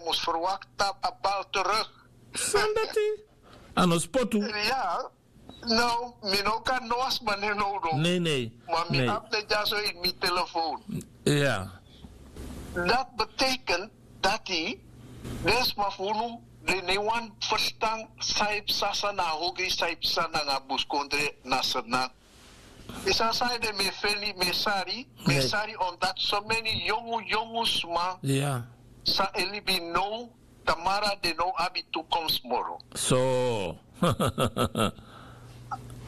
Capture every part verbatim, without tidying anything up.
mus ferwakti a bal teruk. San dati? A no spotu. Ya. No, mi no kan no a sma ne no no. Nei nei. Ma mi abi den dyaso ini mi telefoon. Ya. Dat betekent dati den sma fu unu den no wani ferstan san e psa san na a hogri san e psa nanga buskondre na sernan. Yu sabi san ede mi e feni mi e sari mi e sari omdati someni yongu yongu sma san e libi now tamara den no abi tukomsi moro. So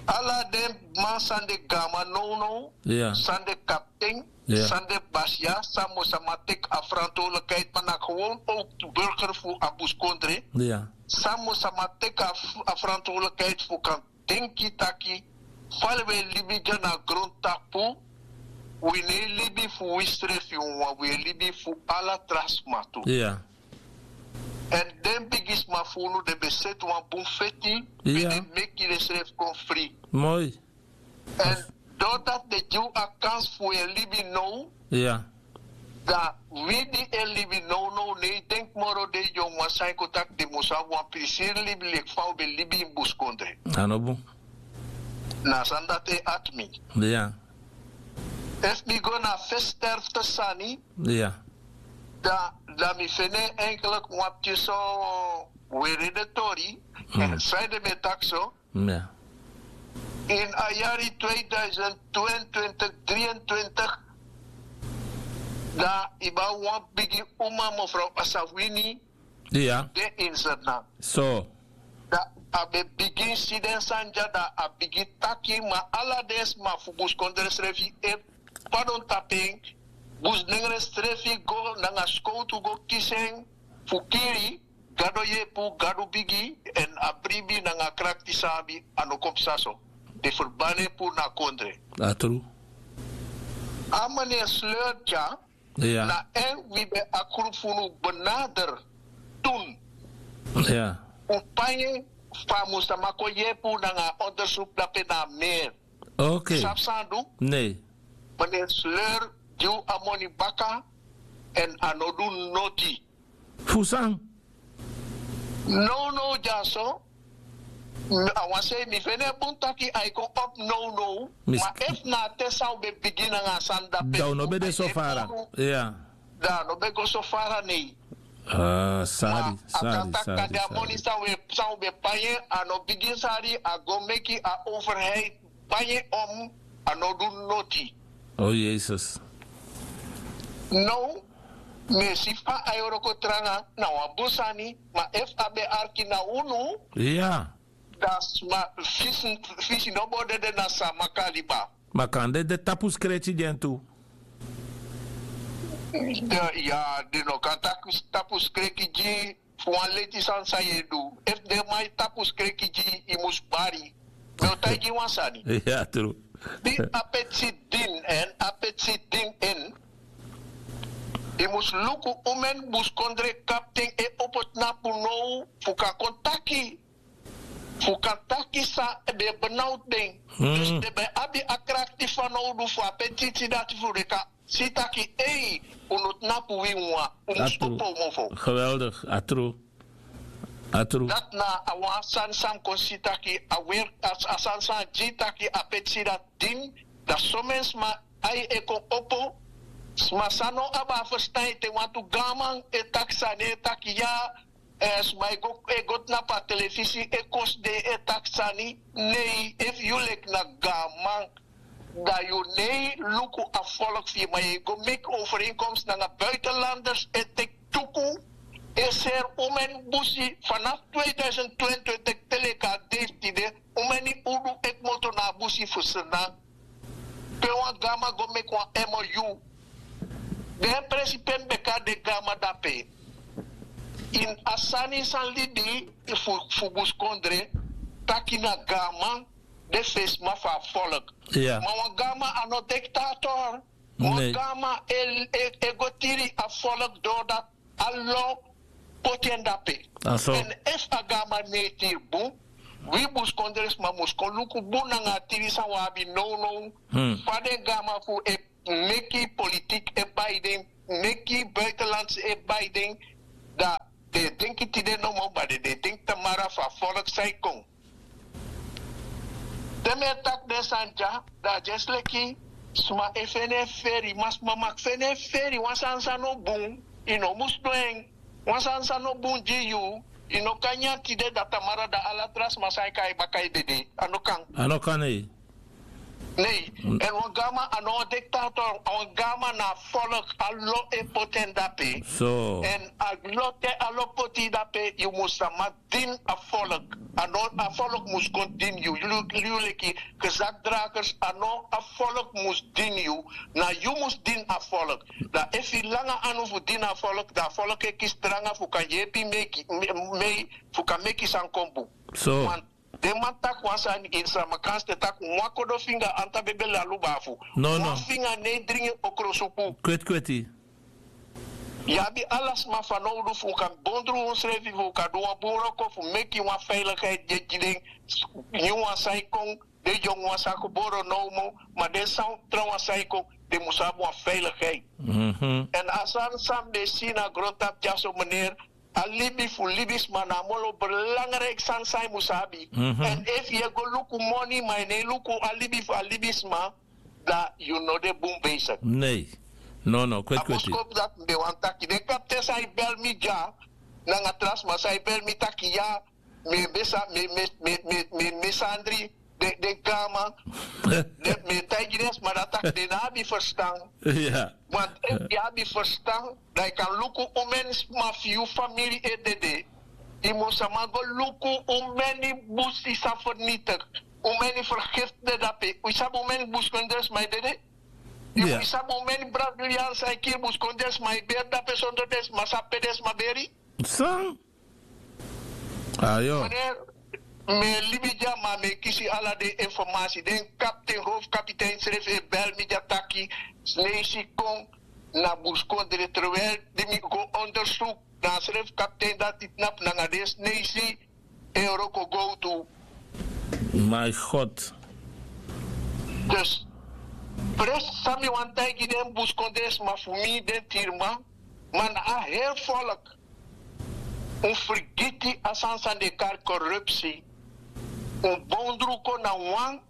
ala den man san de gama nownow san de kapten san de basiya san mu sama teki a frantowlikheid ma na gewon owk burger fu a buskondre san mu sama teki a frantowlikheid fu kan denki taki fa wi e libi dya na grontapu wi no e libi fu wisrefi wawan wi e libi fu ala tra sma tu. Èn den bigisma fu unu den ben seti wan bun feti wi den meki densrefi kon fri. Èn dori dati den gi wi a kansi fu wi e libi now. Dan wi di e libi nownow no e denki moro den yongu wan san e kon taki den mus abi wan prisiri libi leki fa un ben libi ini buskondre. A no bun. Na a sani dati e ati mi. Efu mi go na a fesi sterfte sani dan mi feni en enkeliki wan pikin so weri den tori. San ede mi e taki so ini a yari tweeduizend tweeëntwintig drieëntwintig dan yu ben abi wan bigi uma mefrow asawini de ini sernan. So dan a ben bigin si den sani dya dan a bigin taki ma ala den sma fu buskondre srefi e padon tapu en. Busnengre srefi go nanga skowtu go kisi en fu kiri. Gado yepu gado bigi èn a bribi nanga krakti san abi a no kon psa so. Den ferbani en puru na a kondre. A tru. A mani en sleur dya na en wi ben a krupu fu unu benader tun. Un pai en fu a mus sama kon yepi un nanga a ondersuk dape na a meri. Sabi san a du? Mani en sleur gi un a moni baka. Èn a no du noti. Fu san? Nownow dyaso a wan sei mi feni en bun taki a e kon opo nownow. Ma efu na a te san un ben bigin nanga a sani dape dan un no ben de so fara. Dan a no ben go so fara nei. Ma a kan taki kande a moni san un ben pai en a no bigin sari a go meki a overheid pai en om. A no du noti. O yesus. Now mi e si fa a e wroko tranga na wan bun sani. Ma efu a ben arki na unu dan sma fisi no bo dede na sama kaliba. Ma kande de tapu skreki gi en tu. Ya den no kan tapu skreki gi fu wan leti sani san yu e du. Efu den man e tapu skreki gi yu yu mus bari. Mi o taigi yu wan sani. Di a peti si din en a peti si din en yu mus luku un meni buskondre kapten e opo tnapu now fu kan kon taki fu kan taki san den e benawtu den. Dus den ben abi a krakti fanowdu fu a petiti dati fu den kan si taki ei un no tnapu wi wawan. Un mus opo un mofo. Geweldig. A tru. A tru. Dati na a wan sani san mi kon si taki a weri a sani san a gi taki a petiti dati din dan someni sma ai e kon opo. Sma san no abi a ferstan ete wantu gaanman e taki sani e taki ya. Sma e go tnapu a telefisi e kosi den e taki sani. Nei efu yu leki na gaanman dan yu no e luku a folku fu yu ma yu e go meki overenkomsi nanga buitenlanders e teki tuku e seri un meni busi fanafu tweeduisend twentwintig te leki a dei fu tide. Un meni udu e kmoto na a busi fu srnan pe wan gama go meki wan emo yu. Den presi pe mi ben kari den gama dape ini a sani san libi fu buskondre taki na gama de fesi ma fu a folk. Ma wan gama a no diktator. Wan gama e go tiri a folk dori dati a lo poti en dape. Èn efu a gama no e tiri bun wi buskondresma mus kon luku bun nanga a tiri san wi abi nownow. Fa den gama fu e meki politik e bai den meki buitenlands e bai den dan denki tide nomo ma den de denki tamara fu a folk san e kon. Te mi e taki den sani dya, dan a dyesi leki sma e feni en feri ma sma maki feni en feri wan sani san no bun. Yu no mus du en. Wan sani san no bun gi yu, yu no kan nyan tide dan tamara dan ala tra sma san e kai baka e dede. A no kan. A no kan nei. Nei. Èn wan gama a no wan diktator, a wan gama na a folk a lo e poti en dape. Èn a lo te a lo poti yu dape yu mus sama dini a folk. A no a folk mus kon dini yu. Yu leki gezakdragers a no a folk mus dini yu. Na yu mus dini a folk. Dan efu yu langa anu fu dini a folk dan a folk e kisi tranga fu kan yepi meki mei fu kan meki san kon bun. Den man taki wan sani ini sramakansi te taki wan kodo finga antabebeli a lubafu. Wan finga no e dringi okrosupu. Kweti kweti. Yu abi ala sma fanowdu fu un kan bondru unsrefi fu un kan du wan bun wroko fu meki wan feilikheid gi den. Nyun wan san e kon, den yongu wan san geboro now moo, ma den san trawan san e kon, den mus abi wan feilikheid. Èn a sani san mi ben si na grontapu dyaso meneer, a libi fu libisma na a moro belangriki sani san yu mus abi. Èn efu yu e go luku moni ma yu no e luku a libi fu a libisma, dan yu no de bun besigi. Nei. Nono kweti kweti. A boskopu dati mi ben wani taki den kapten san e beli mi dya nanga tra sma san e beli mi taki ya, mi e besa mi e mi e mi e mi e mi e sandri den den gaman. Mi e taigi den sma dati taki den no abi ferstan. Want efu yu abi ferstan, dan yu kan luku un meni sma fu yu famili e dede. Yu mus sama go luku un meni busi san fernitik. Un meni fergifti de dape. Un sabi un meni buskondre sma e dede. Yu mus sabi un meni brazilian san e kiri buskondre sma e beri dape sondro den sma sabi pe den sma beri. San? Ayo. Mi e libi dya ma mi e kisi ala den informasi den kapten howfu kapiten srefi e beli mi dya taki sneisi kon na buskondre terwel di mi go ondersuku na a srefi kapten dati tnapu nanga den sneisi e wroko gowtu. My god. Dus presi san mi wani taigi den buskondre sma fu mi den tiriman, ma na a heri folk un frigiti a sani san den e kari korupsi. Un bondru kon na wan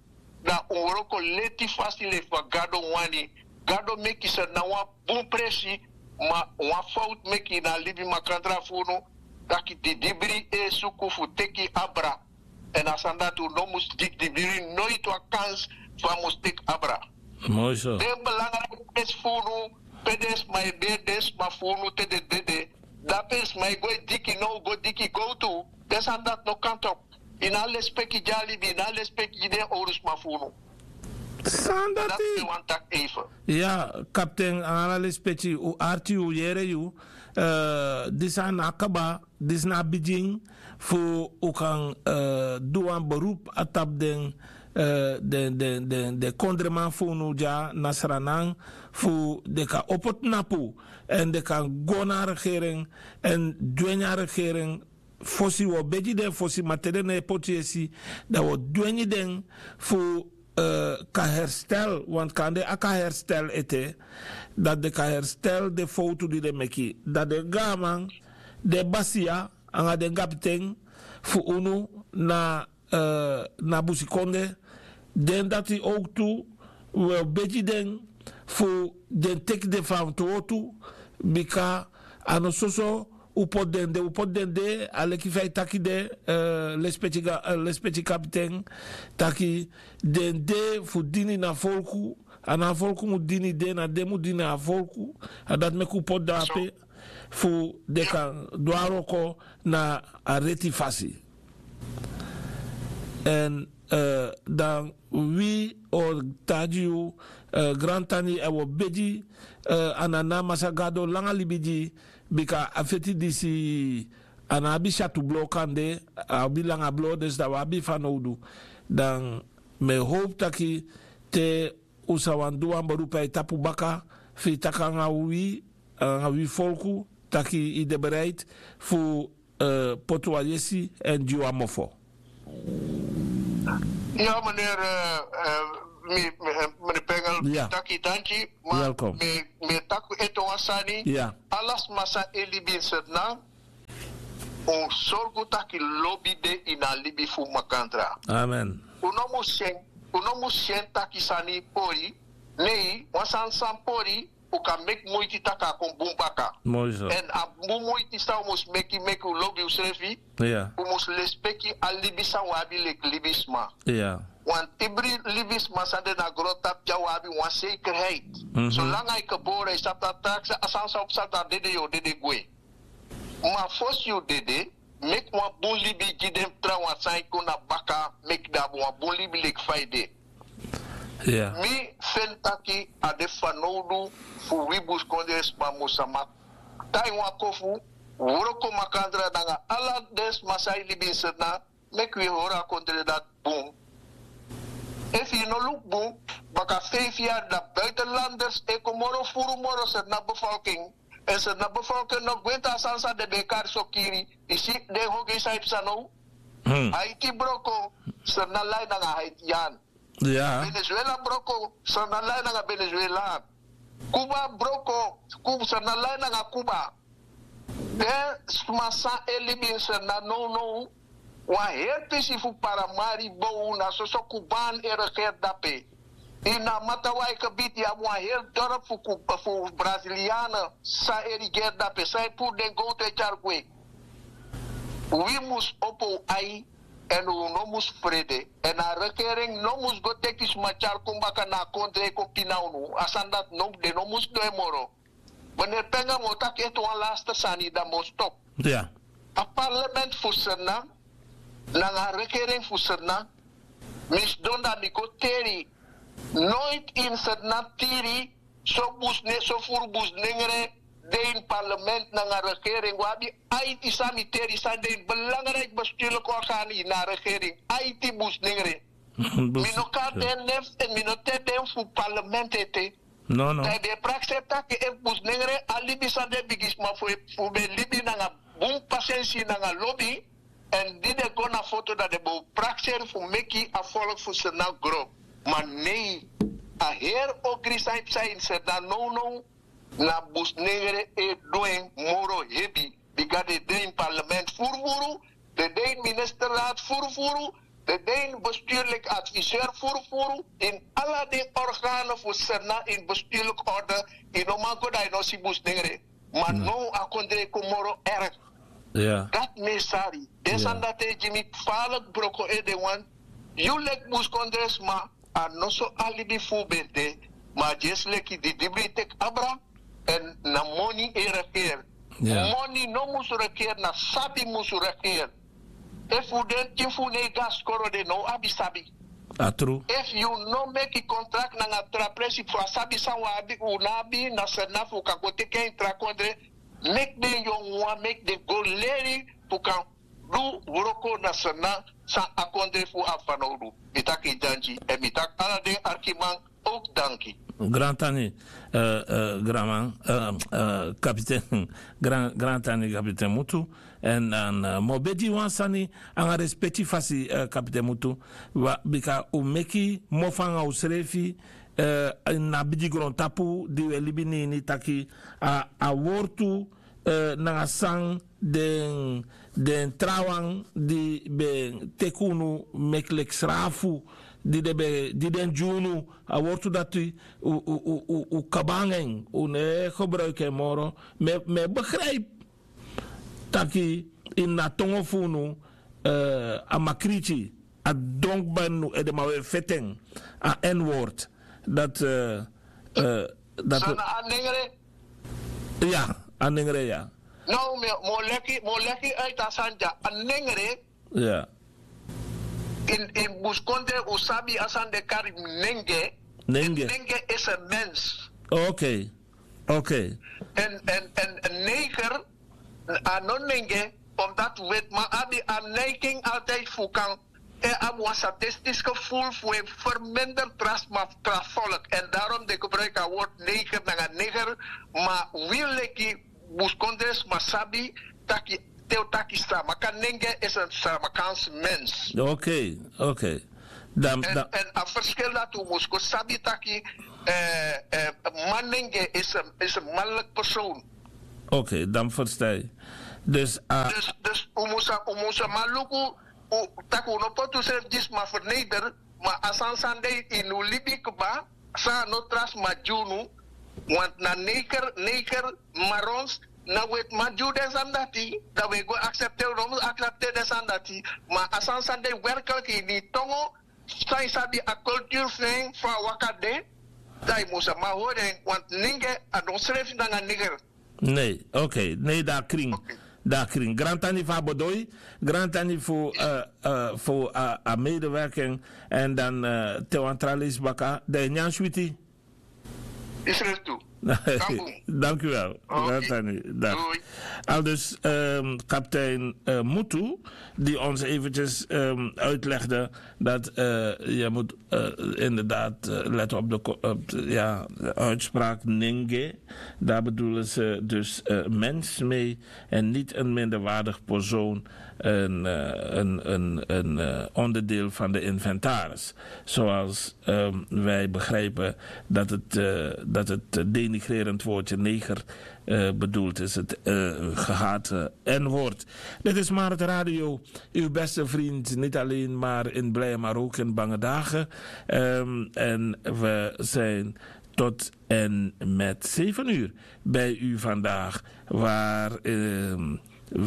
dan un wroko leti fasi leki fa gado wani. Gado meki seri na wan bun presi, ma wan fowtu meki na a libi makandra fu unu, taki didibri e suku fu teki abra. Èn a sani dati un no mus gi didibri noiti wan kansi fu a mus teki abra. Den belangriki presi fu unu, pe den sma e beri den sma fu unu te den dede, dape sma e go e diki now go diki gowtu. Den sani dati no kan topu. Yu no a lespeki gi a libi yu no a lespeki gi den owru sma fu unu. Sani dati mi wani taki eife. Ya, kapten, ala lespeki. Un arti un yere yu. Disi a no a kaba. Disi na a bigin fu un kan du wan berupu na tapu den den den den kondreman fu unu dya na sranan, fu den kan opo tnapu èn den kan go na a regeren èn dwengi a regeren. Fosi wi o begi den fosi ma te den no e poti yesi, dan wi o dwengi den fu kan herstel, want kande a kan herstel ete, dati den kan herstel den fowtu di den meki. Dan den gaaman, den basiya anga den gabiten fu unu na na busikonde, den dati owktu wi o begi den fu den teki den fanowdu, bika a no soso un poti den de un poti den de a leki fa yu taki de. Lespeki kapiten, taki den de fu dini na folku. A no a folku mu dini den na den mu dini a folku. A dati meki un poti den ape fu den kan du a wroko na a reti fasi. Èn dan wi o taigi yu, grantani èn wi o begi a nana masra gado langa libi gi yu, bika a feti disi a no abi syatu blo kande, a abi langa blo desi dan wi abi fanowdu. Dan mi e howpu taki te un sa wani du wan berupu na yu tapu baka, fu yu taki nanga wi nanga wi folku, taki yu de bereiti fu poti wan yesi èn gi wan mofo. Ya meneer, meneer Pengel, mi taki danki. Ma mi e taki ete wan sani. Ala sma san e libi ini Sranan, Un sorgu taki lobi de ini a libi fu makandra. Amen. Un no mus si en, un no mus si en taki sani pori. Nei, wan sani san pori, un kan meki muiti taki a kon bun baka. Èn a bun muiti san un mus meki, meki un lobi unsrefi. Un mus lespeki a libi san un abi leki libisma. Wan tibri libisma san de na grontapu dya un abi wan sekerheit. Solanga yu gebore yu sabi taki a sani san un psa dan dede yu o dede gwe. Ma fosi yu dede, meki wan bun libi gi den trawan san e kon na baka, meki den abi wan bun libi leki fa yu de. Mi feni taki a de fanowdu fu wi buskondre sma mus sama tai wan kofu, wroko makandra nanga ala den sma san e libi ini serna, meki wi e hori a kondre dati bun. Efu yu no luku bun, baka feifi yari dan buitenlanders e kon moro furu moro serna befolking. Èn serna befolking no gwenti a sani san den ben e kari sokiri. Yu si den hogei san yu psa now. Haiti broko, serna lai nanga haitian. Venezuela broko, serna lai nanga venezuelaan. Kuba broko, serna lai nanga kuba. Den sma san e libi ini serna nownow, wan heri pisi fu paramari bow na soso kuban e regeri dape. Ini a matawaike biti yu abi wan heri dorpu fu braziliane san e rigeri dape san e puru den gowtu e tyari gwe. Wi mus opo un ai, èn un no mus frede, èn a regering no mus go teki sma tyari kon baka na a kondre e kon pina unu. A sani dati no den no mus du en moro. Mene penga mi o taki ete wan laste sani dan mi o stop. A parlement fu serna nanga a regering fu serna, mi sidon dan mi go teri. Noiti ini serna tiri so busne so furu busnengre de ini parlement nanga regering wi abi. Aiti san mi teri san de ini belangriki bestuurliki organi na regering aiti busnengre. Mi no kari den nefs èn mi no teri den fu parlement ete. Dan yu ben e prakseri taki efu busnengre a libi san den bigisma fu ben libi nanga bun pasensi nanga lobi, èn di den go na foto dan den ben o prakseri fu meki a folku fu serna gro. Ma nei, a heri ogri san yu psa ini serna nownow, na busnengre e du en moro hebi. Bika den de ini parlement furufuru, den de ini ministerraad furufuru, den de ini bestuurliki adviseur furufuru, ini ala den organe fu serna ini bestuurliki orde. Yu no man go dan yu no si busnengre. Ma now a kondre e kon moro erg. Dati mi e sari den sani dati e gi mi faliki broko ede wan. Yu leki buskondresma, a no so a libi fu un ben de. Ma a dyesi leki didibri teki abra. Èn na moni e regeri. Moni no mus regeri, na sabi mus regeri. Efu den tin fu un no e go na skoro den no o abi sabi. Efu yu no meki kontrakti nanga tra presi fu a sabi san un abi un no abi na serna fu un kan go teki en ini tra kondre. Meki den yongu wan meki den go leri fu kan du wroko na serna san a kondre fu abi fanowdu. Mi taki danki èn mi taki ala den arkiman. Oki danki. Grantani, granman, kapiten. Grantani kapiten mutu. Èn dan mi o begi wan sani nanga respeki fasi, kapiten mutu. Bika un meki mofo nanga unsrefi na bigi grontapu di un e libi na ini taki a wortu nanga san den trawan di ben teki unu meki leki srafu di den ben di den gi unu. A wortu dati un kaba nanga en un no e gebruiki en moro. Mi e begripi taki ini a tongo fu unu a makriti a don kba ini unu edeman un e feti en. A n-word dati dati a nengre. Ya, a nengre ya. No, mi o leki mi o leki aita sanja a nengre. Ya. In in buskondre un sabi a sani de kari nenge. Nenge. Nenge is a mens. Ok. Ok. En en en neger a no nenge. Omdat wetman abi a neiging altijd fu kan e abi wan sadistische voel fu e verminder tra sma fu tra volk. En daarom de gebruik a woord neger nanga neger. Ma wi leki buskondre sma sabi taki te un taki sramaka nenge is en sramakans mens. Ok. Ok. Dan dan en a verschil dati un mus kon sabi taki man nenge is en is en manlik persoon. Ok, dan verstan yu. Dus a dus dus un mus a- un mus a man luku, un taki un no poti unsrefi gi sma ferneder. Ma a sani san de ini un libi kba, san a no tra sma gi unu. Want na neger neger, marons, na wetiman gi un den sani dati. Dan un e go aksepteri un no mus aksepteri den sani dati. Ma a sani san de werklik ini yu tongo, san yu sabi a kulturu fu en fu a waka de, dan yu mus a man hori en. Want nenge a no srefi nanga neger. Nei, oke, nei, dan a krin. Dan a krin. Grantani fu a bodoi, grantani fu a medewerking. Èn dan te wan tra leisi baka dan yu nyan switi. Yu srefi tu. Dank u wel. Grantani. Aldus kaptein Mutu, die ons eventjes uitlegde dat je moet inderdaad letten op de uitspraak nenge. Daar bedoelen ze dus mens mee en niet een minderwaardig persoon, een onderdeel van de inventaris. Zoals wij begrijpen dat het denigrerend woordje neger bedoeld is, het gehate N-woord. Dit is Marit Radio, uw beste vriend, niet alleen maar in blije, maar ook in bange dagen. En we zijn tot en met zeven uur bij u vandaag, waar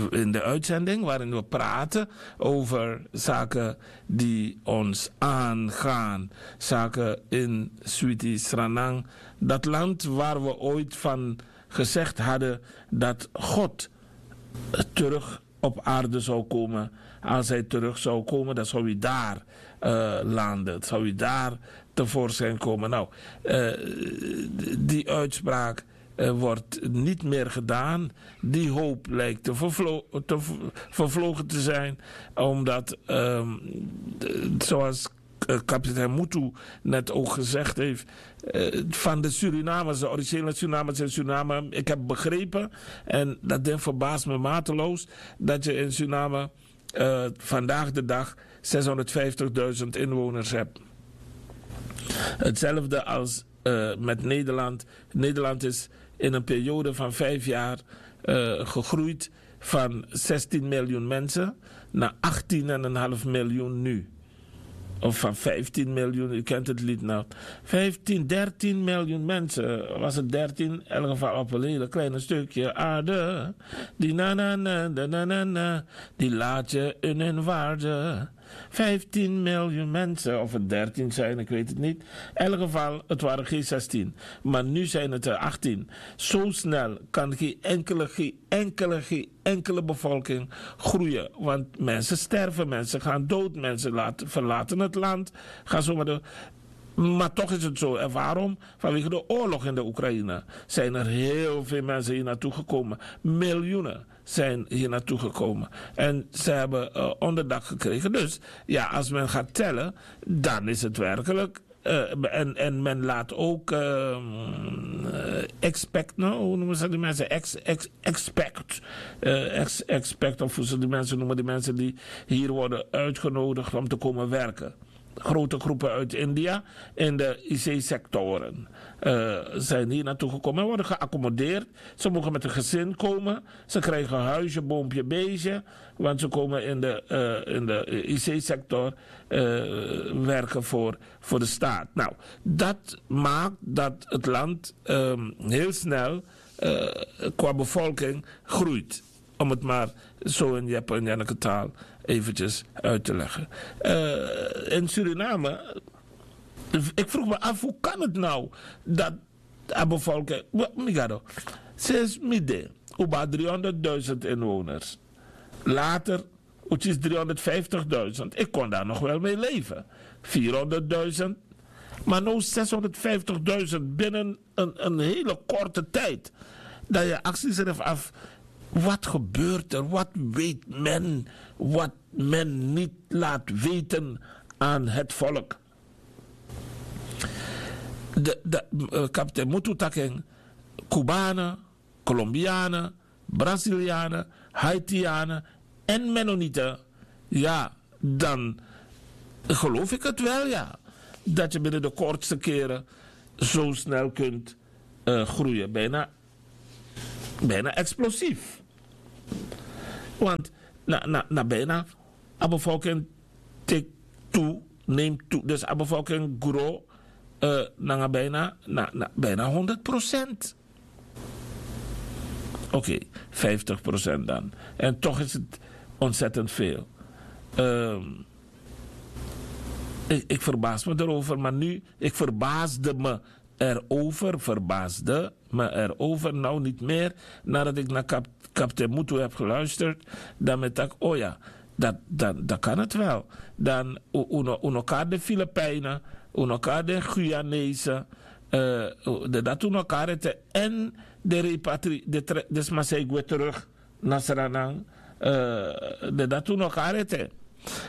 in de uitzending waarin we praten over zaken die ons aangaan. Zaken in Sweetie Sranang, dat land waar we ooit van gezegd hadden dat God terug op aarde zou komen. Als hij terug zou komen, dan zou hij daar landen. Dan zou hij daar tevoorschijn komen. Nou, die uitspraak wordt niet meer gedaan. Die hoop lijkt te vervlogen te zijn, omdat, zoals kapitein Mutu net ook gezegd heeft, van de Surinamers, de originele Surinamers in Suriname, ik heb begrepen, en dat ding verbaast me mateloos, dat je in Suriname vandaag de dag zeshonderdvijftigduizend inwoners hebt. Hetzelfde als met Nederland. Nederland is in een periode van vijf jaar gegroeid van zestien miljoen mensen naar achttien en een half miljoen nu. Of van vijftien miljoen, u kent het lied nog. Vijftien, dertien miljoen mensen. Was het dertien? In elk geval op een hele kleine stukje aarde. Die na na na, na na na, die laat je in hun waarde. Vijftien miljoen mensen, of het dertien zijn, ik weet het niet. In elk geval, het waren geen zestien. Maar nu zijn het er achttien. Zo snel kan geen enkele, geen enkele, geen enkele bevolking groeien. Want mensen sterven, mensen gaan dood, mensen verlaten het land. Ga zo maar door. Maar toch is het zo. En waarom? Vanwege de oorlog in de Oekraïne zijn er heel veel mensen hier naartoe gekomen. Miljoenen zijn hier naartoe gekomen. En ze hebben onderdak gekregen. Dus ja, als men gaat tellen, dan is het werkelijk en men laat ook expect, no, hoe noemen ze die mensen? Expect. Expect, of hoe ze die mensen noemen, die mensen die hier worden uitgenodigd om te komen werken. Grote groepen uit India in de I C-sectoren zijn hier naartoe gekomen en worden geaccommodeerd. Ze mogen met een gezin komen. Ze krijgen huisje, boompje, beestje. Want ze komen in de, in de I C-sector werken voor, voor de staat. Nou, dat maakt dat het land heel snel qua bevolking groeit. Om het maar zo in Jep en Janneke taal eventjes uit te leggen. In Suriname, ik vroeg me af, hoe kan het nou dat a bevolking, migado, sinds midden, oba driehonderdduizend inwoners. Later, het is driehonderdvijftigduizend. Ik kon daar nog wel mee leven. Vierhonderdduizend. Maar nu zeshonderdvijftigduizend binnen een hele korte tijd. Dan je acties ervan af. Wat gebeurt er? Wat weet men? Wat men niet laat weten aan het volk. De kapitein Mutu taki en, Kubanen, Kolombianen, Brazilianen, Haitianen en Mennonieten. Ja, dan geloof ik het wel, ja, dat je binnen de kortste keren zo snel kunt groeien. Bijna explosief. Want na, na, na bijna a bevolking tik tu, neem tu. Dus a bevolking gro, eh, nanga bijna, na, na bijna honderd procent. Oké, vijftig procent dan. En toch is het ontzettend veel. Ehm, ik, ik verbaas me erover, maar nu, ik verbaasde me erover, verbaasde me erover, nou niet meer, nadat ik naar kap, kapitein Mutu heb geluisterd, dan met tak, oh ja, dat, dan, dan kan het wel. Dan u, u no, u no kari de Filipijnen, u no kari de Guyanese, eh, u- de, dat u no kari te en de repatri, de, tre- de sma san e gwe terug na Sranan, eh, de, dat u no kari te.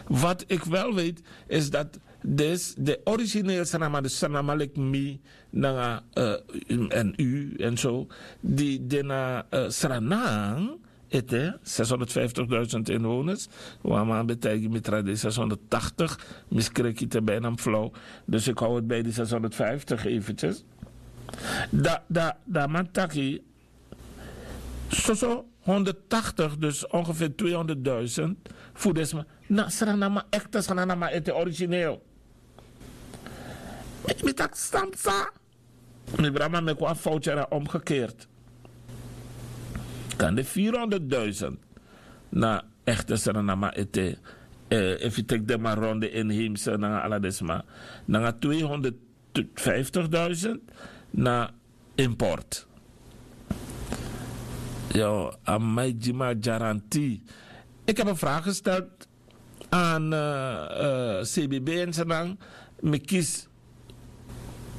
Wat ik wel weet, is dat dus de origineel Sranama, de Sranama lik mi, nanga, eh, en u en zo, die de na eh, Sranan, ete, zeshonderdvijftigduizend inwoners. Wama betijgi mitra de zeshonderdtachtig, miskreki te bijna flauw. Dus ik hou het bij die zeshonderdvijftig eventjes. Da, da, da man taki, soso honderdtachtig, dus ongeveer tweehonderdduizend, fu desma, na Sranama, echte Sranama, ete origineel. Mi, mi tak stamsa. Mi brama meki wan foutje, omgekeerd. Kan de vierhonderdduizend na echte Sranama ete, eh, efi teki de ma ronde inheemse nanga ala desma, nanga tweehonderdvijftigduizend na import. Yo, amai gi mi a garantie. Ik heb een vraag gesteld aan eh, eh, C B B en Senang. Mi kisi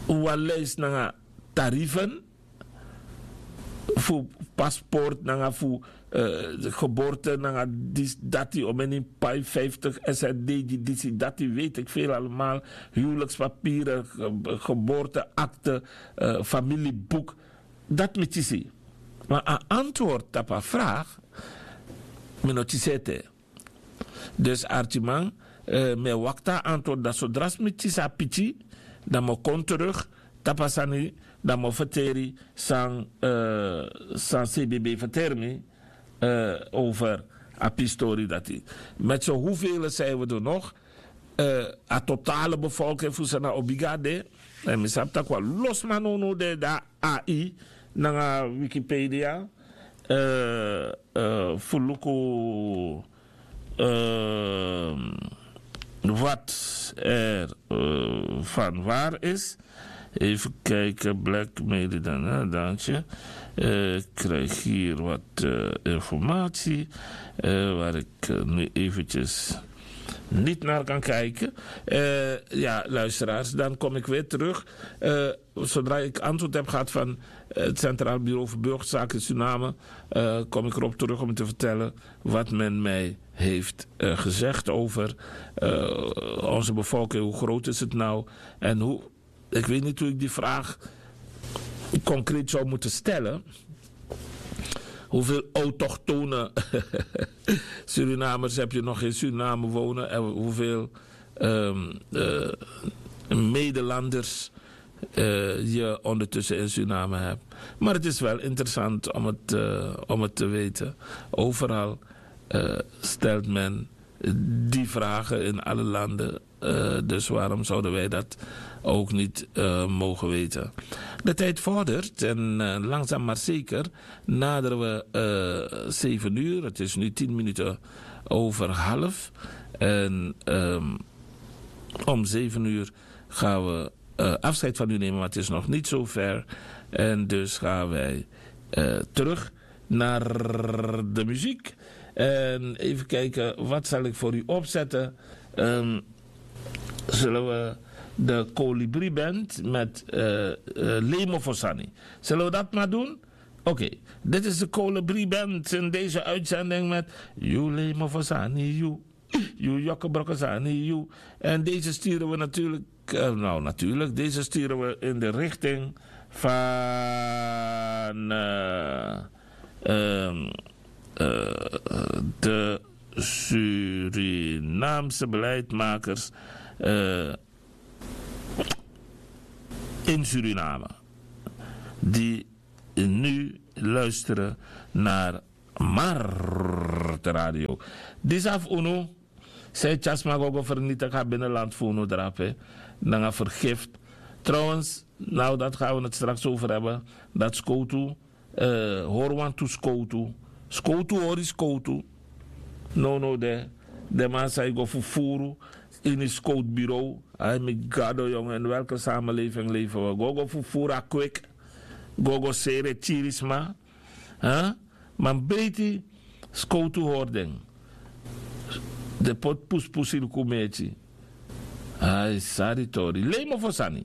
wan lijst nanga tarieven fu paspoort nanga fu eh, geboorte nanga dis dati, omeni pai vijftig S R D, die disi dati, weet ik veel allemaal, huwelijkspapieren, ge- geboorteakte, eh, familieboek. Dat mi tisi. Maar een antwoord op een vraag, mi no tisi ete. Dus artiman, eh, mi e wakti a antwoord, dan zodra mi tisi a piki, dan mi o kon terug tapu a sani, dan mi o verteri san, eh, san C B B verteri mi, eh, over a pistori dati. Met zo hoeveel zijn we er nog? Eh, a totale bevolking fu Sranan o bigi a de. En mi sabi tak' wan lo sma nownow de, dan A I nanga Wikipedia, eh, eh, fu luku, eh, wat er eh, van waar is. Even kijken, Black Meli dan, hè, dank je. Eh, ik krijg hier wat eh, informatie eh, waar ik eh, nu eventjes niet naar kan kijken. Eh, ja, luisteraars, dan kom ik weer terug. Eh, zodra ik antwoord heb gehad van eh, het Centraal Bureau voor Burgerzaken in Suriname, eh, kom ik erop terug om te vertellen wat men mij heeft eh, gezegd over eh, onze bevolking. Hoe groot is het nou? En hoe, ik weet niet hoe ik die vraag concreet zou moeten stellen. Hoeveel autochtone Surinamers heb je nog in Suriname wonen? En hoeveel ehm, eh, medelanders eh, je ondertussen in Suriname hebt. Maar het is wel interessant om het, eh, om het te weten. Overal eh, stelt men die vragen in alle landen. Eh, dus waarom zouden wij dat ook niet eh, mogen weten? De tijd vordert en eh, langzaam maar zeker naderen we eh, zeven uur. Het is nu tien minuten over half. En ehm, om zeven uur gaan we eh, afscheid van u nemen, maar het is nog niet zo ver. En dus gaan wij eh, terug naar de muziek. En even kijken, wat zal ik voor u opzetten? Ehm, zullen we de Colibri Band met eh, eh, Lemo Fosani. Zullen we dat maar doen? Oké, dit is de Colibri Band in deze uitzending met You Lemo Fosani, You. You Jokke Brokkesani, You. En deze sturen we natuurlijk, eh, nou natuurlijk, deze sturen we in de richting van eh, ehm, eh, de Surinaamse beleidsmakers eh, in Suriname. Die nu luisteren naar Martradio. Disi na fu unu. San e tyari sma go go fernitik a binnenland fu unu drape nanga fergift. Trouwens, now dat gaan we het straks over hebben, dat skowtu hori wantu skowtu. Skowtu hori skowtu. Nownow de den man san e go fufuru ini skowtu bureau. Ai mi gado yong, en welke samenleving leven we? Go go fufuru a kwik. Go go sere tiri sma. Man breiti skowtu hori den. Den poti puspusi luku meti. Ai sari tori lei mofo sani.